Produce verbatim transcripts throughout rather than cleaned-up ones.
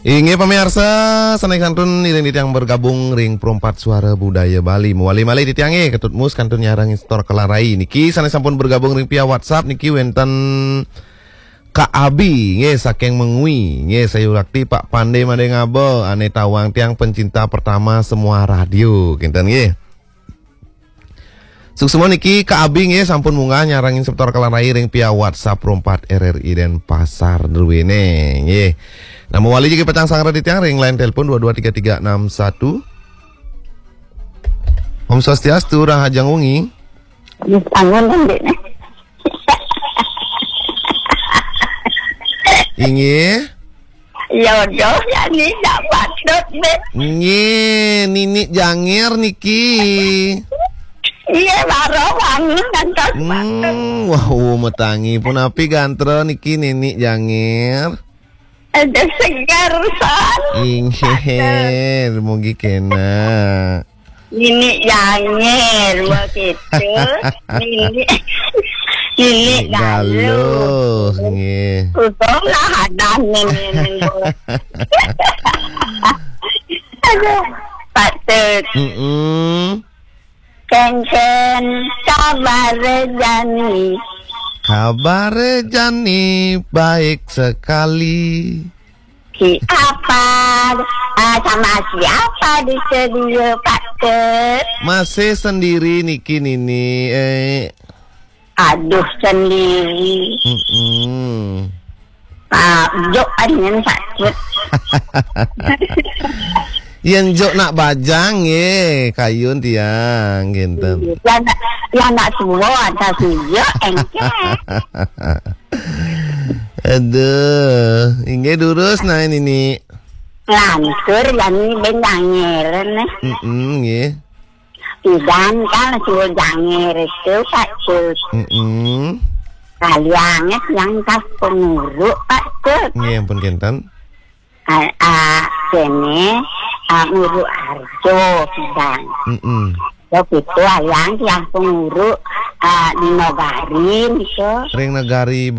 Inggih pamiarsa, sanés kantun iring titiang bergabung ring Perempat Suara Budaya Bali. Mawali malih titiang nggih, Ketut Mus kantun nyarengin semeton kalarai. Niki sanés sampun bergabung ring via WhatsApp niki wénten Kak Abi nggih saking Mengwi, nggih sayuwakti Pak Pande Madé Ngaba, ané tawang tiang pencinta pertama semua radio, kinten nggih. Suksma niki Kak Abi nggih sampun munggah nyarengin semeton kalarai ring via WhatsApp Perempat R R I Denpasar druéné nggih. Nah, mawali jagi pacang sareng titiang ring line telepon dua dua tiga tiga enam satu. Om Swastiastu, rahajeng wengi. Bangun, Dék. Inggih. Jodoh ya ni dak patut, Dék. Nggih, Nini Jangir niki. Iya, baru bangun ngantos patut. Hmm, wah, uh, matangi. Punapi gatra niki Nini Jangir? Ada segar, San. Inggih, mugi kénak. Nini Jangir, begitu. Nini, Nini Nini Galuh. Galuh, nggih. Untung lah ada Nini Galuh. Aduh, patut. Mm-mm. Kénkén kabar jani. Kabar jani baik sekali. Siapa? Ah, sama siapa di studio, Pak Ket? Masih sendiri niki, Nini. Eh. Aduh, sendiri. Mm-mm. Ah, jok aringan sakit. Yén jok nak bajang nggih, kayun tiang, kinten. Ya nak, ya nak suwa ada sih, jok engké. Aduh, inggih durus nah ini. Lantur jani ben jangir nih. Mm-mm, nggih. Pidan kan suruh jangir itu, Pak Cut. Mm-mm. Kalianget yang tas penguruk, Pak Cut. Nggih, ampun kinten. Ah, ah, kene, ah, nguruk Arjo pidan. Mm-mm. Yo gitu, aliang yang penguruk, ah, di Nagari niku. Ring Nagari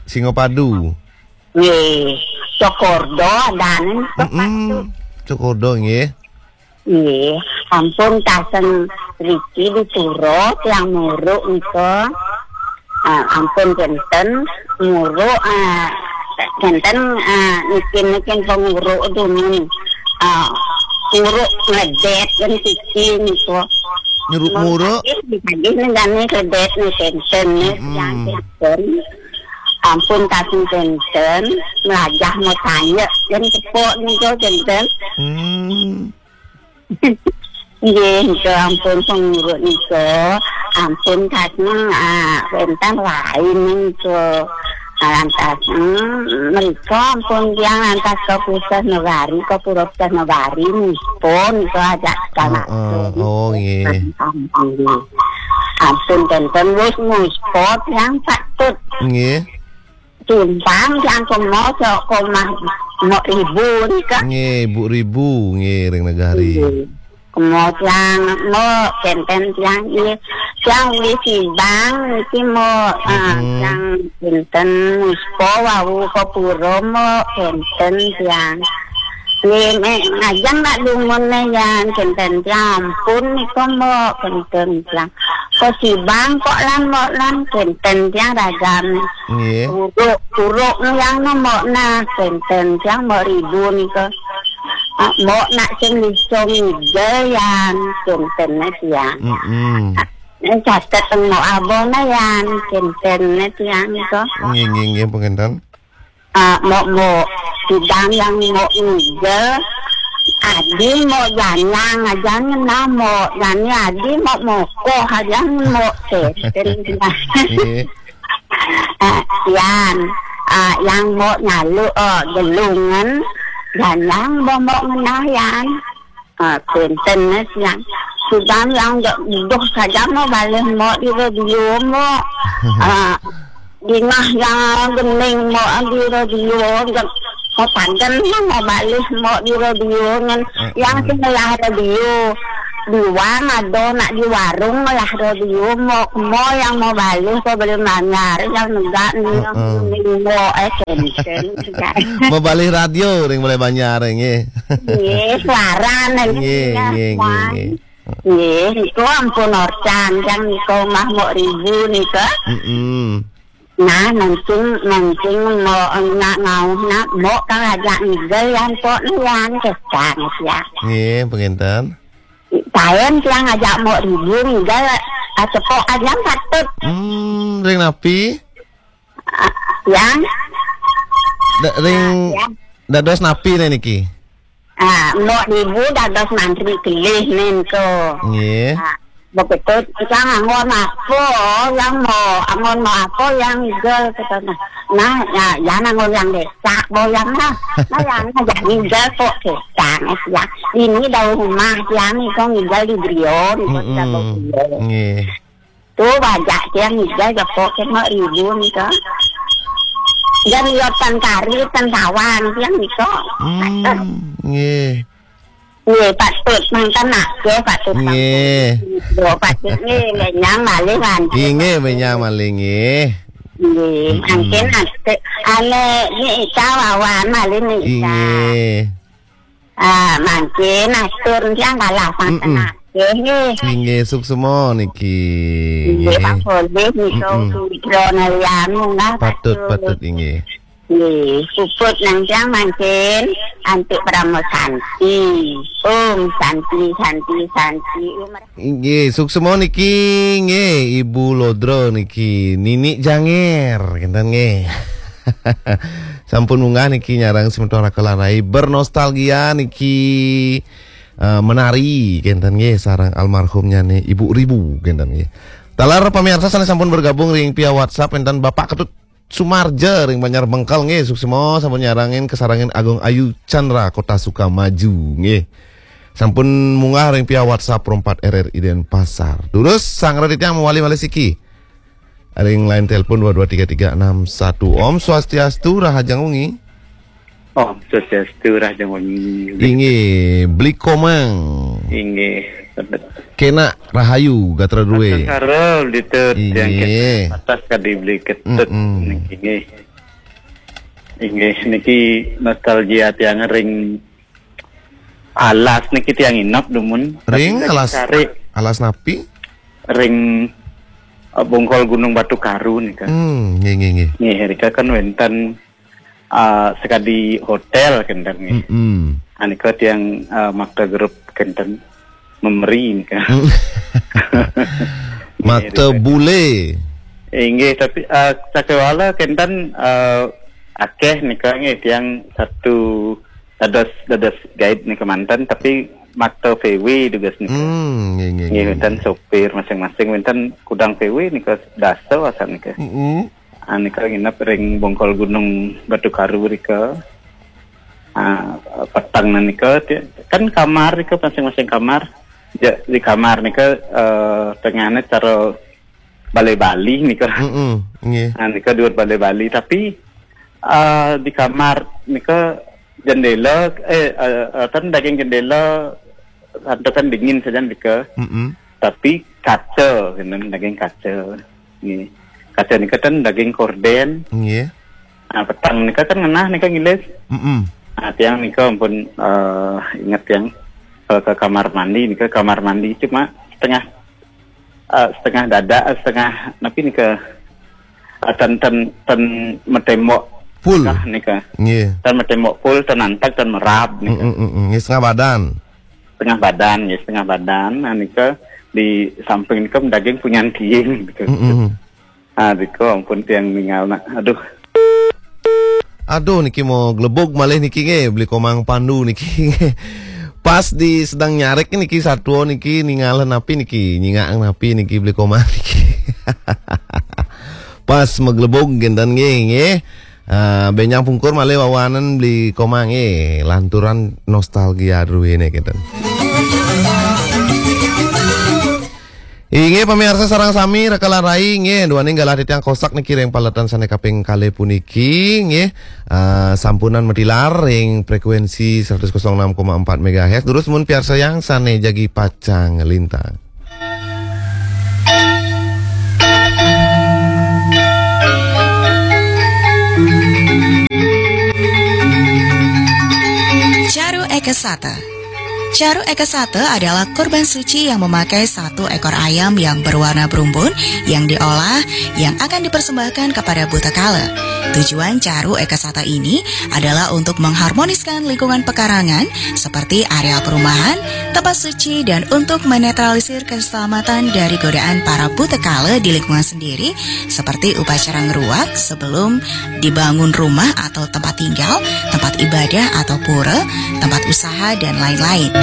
Singapadu. Nggih, Cokordo adanen, Pak Cut. Mm-mm. Cokordo nggih. Nggih, ampun kaseng riki di pura tiang muruk nika. Ah, ampun kinten muruk, ah, kinten, ah, nikin-nikin penguruk dumun. Ah, muruk ngledét kan siki nika. Nyuruk muruk? Nggih, nggih, nggih, ngledét nih kinten nih, mm-mm, yang kinten. Ampun kaseng kinten, melajah mau tanya, kan tepuk nika kinten. Hmm. Nggih, nika ampun penguruk nika, ampun kasih, ah, wénten lain nika. Ah, lantas, hmm, mereka ampun tiang lantas ke pusat negari, ke pura pusat negari nipun nika ajak. Heeh, oh, nggih. Ampun, ampun, wis muspot yang patut. Nggih. Simpang yang kemo sok komah mo ibu nika. Nggih, Bu Ribu, nggih, ring Nagari. Nggih. Kemo tiang mo kinten tiang i, tiang uli sibang niki mo, ah, mm-mm, tiang kinten muspo wau ke pura mo kinten tiang. Nggih, me-, ngajeng nak dumun ne yan, kinten tiang ampun nika mo, kinten tiang. Ko sibang, ko lan, mo lan, kinten tiang ragam. Nggih. Uruk, uruk yang no mo nah, kinten tiang mo ribu nika. Ah, mo nak sing iso ngigel yan, kinten ne tiang. Mm-mm. Ah, ne catet mo abon ne yan, kinten ne tiang nika. Nggih, nggih, nggih, panginten. Ah, mo, mo, sidang yang mo ngigel, adi mo janyang aja ngenah mo, jani adi mo mokoh aja mo, kinten. Nggih. Ah, yan, ah, yang mo nyalu, oh, gelungan, janyang mo, mo ngenah yan. Ah, kinten, Mas, yang sudah yang dok, dok saja mo balih mo di radio mo. Ah, dingah yang gening mo di radio, dok mo padan mo balih mo di radio ngan. Mm-mm. Yang sing ngelah radio. Di wang ado nak di warung lah do di mo mo yang mau balik ko beli manyar yang negak ni yang Heeh. Ni mo eh kenten. Mau balik radio ring boleh banjar nggih. Nggih, suara Nggih, nggih, nggih, nggih. Nggih, niku ampun orcan yang niku mah mok ribu niku. Mm-mm. Nah, mancing mancing mau nak ngauh nak mok kang ajak ngigel yang pok ni yang kesang ya. Nggih, penginten. Taen tiang ajak mok ribu ngigel, ah, cepok aja patut. Hmm, ring napi? Ah, yang Da, ring ya. Dados napi ne niki? Ah, mok ribu dados mantri kelih nen ko. Nggih. Ah, begitu kita nganggur apa yang mau, anggur mau apa yang ngigel kita nah. Nah, ya, ya nganggur yang desak boyang nah. Nah, yang ngajak ngigel kok kesang ya. Ini daun rumah yang itu ngigel di Brion, kok Mm-mm. Nggih. Tu bajak tiang ngigel jepok kena ribu ni ka. Dan yotan kari tan sawang tiang ni ka. Hmm, nggih. Nggih, patut mantan nak ke patut Nggih. Yo patut ni menyang malih kan. Inggih, menyang malih nggih. Nggih, Mm-mm. Mangkin ate ane ni ika wawan malih ni ika. Inggih. Ah, mangkin atur tiang kalah Mm-mm. Santen nggih. Inggih, suksema niki. Inggih, Pak Polih nika Mm-mm. Sudra Nalianu lah Patut, patut. Patut inggih. Nggih, puput nang tiang mangkin antuk Parama Santi. Om Santi, Santi, Santi. Om Inggih, suksema niki nggih Ibu Lodra niki Nini Janger kenten nggih. Sampun munggah niki nyarang semeton Raka Larai bernostalgia niki eh, menari kenten nggih sareng almarhumnya nih Ibu Ribu kenten nggih. Taler pemirsa sana sampun bergabung ring via WhatsApp kenten Bapak Ketut Sumarja ring Banjar Bengkel nggih suksema sampun nyarangin kesarangin Agung Ayu Chandra Kota Sukamaju nggih. Sampun munggah ring via WhatsApp Rompat R R I Denpasar. Durus sang raditya mawali malih siki. Ring line telepon dua dua tiga tiga enam satu. Om Swastiastu, rahajeng wengi. Om Swastiastu, rahajeng wengi. Inggih, Bli Komang. Inggih, sebet. Kena rahayu gatra duwe. Karo ditu tiang Inggih. Kena atas kadi Bli Ketut Mm-mm. niki. Inggih, niki nostalgia tiang ring alas niki tiang inep dumun. Tapi Ring nggak alas, dicari. Alas napi? Ring, eh, Bongkol Gunung Batu Karu nika. Hmm, nggih, nggih, nggih. Nggih, rika kan wenten, eh, sekadi hotel kenten nggih. Mm-mm. Anika tiang, eh, makta grup kenten memeri nika. Mm. Makta Nggih, rika. Bule. Inggih, tapi, eh, sakewala kenten, eh, akeh nika nggih tiang satu dados, dados guide nika manten, tapi makta V W tugas nika. Hmm, nggih, nggih, Nggih, nggih, wenten nggih. Sopir masing-masing, wenten kudang V W nika dasa asan nika. Mm-mm. Ah, nika nginep ring Bongkol Gunung Batu Karu rika. Ah, peteng nika ti-, kan kamar nika masing-masing kamar. Ja, di kamar nika, eh, tengahne cara balai Bali nika. Mm-mm, nggih. Ah, nika duur balai Bali, tapi, ah, di kamar nika jendela, eh, eh, eh, kan daging jendela santukan dingin saja nika. Mm-mm. Tapi kaca, kenen daging kaca. Nggih. Kaca nika kan daging korden. Nggih. Ah, petang nika kan ngenah nika ngilis. Mm-mm. Ah, tiang nika ampun, eh, inget tiang ke, ke kamar mandi nika, kamar mandi cuma setengah, eh, setengah dada, eh, setengah napi nika, eh, ten, ten, ten metembok Full. Kah nika. Nggih. Ten metembok full, ten antag, ten merab nika. Mm, mm, mm, mm. Nggih, setengah badan. Setengah badan, nggih, setengah badan. Nah, nika di samping nika daging punyan kiing gitu. Mm, mm. Ah, diko ampun tiang ningal nak. Aduh. Aduh, niki mau glebug malih niki nggih, Beli Komang Pandu niki. Pas di sedang nyarik niki satua niki ningal napi niki, nyingak napi niki Beli Komang niki. Pas maglebug kenten nggih, nggih. Ah, benjang pungkur malih wawanen Beli Komang nggih, lanturan nostalgia druene kenten. Inggih, pamiarsa sareng sami, reka lan rai, inggih, duaning galah titiang Kosak niki ring paletan sane kaping kalih puniki, inggih. Ah, sampunang matilar ring frekuensi seratus kosong enam koma empat megahertz. Durus mun piarsayang sane jagi pacang lintang. Charu Ekasata. Charu Ekasata adalah kurban suci yang memakai satu ekor ayam yang berwarna berumbun yang diolah, yang akan dipersembahkan kepada Buta Kala. Tujuan Charu Ekasata ini adalah untuk mengharmoniskan lingkungan pekarangan seperti areal perumahan, tempat suci, dan untuk menetralisir keselamatan dari godaan para Buta Kala di lingkungan sendiri, seperti upacara ngeruak sebelum dibangun rumah atau tempat tinggal, tempat ibadah atau pura, tempat usaha, dan lain-lain.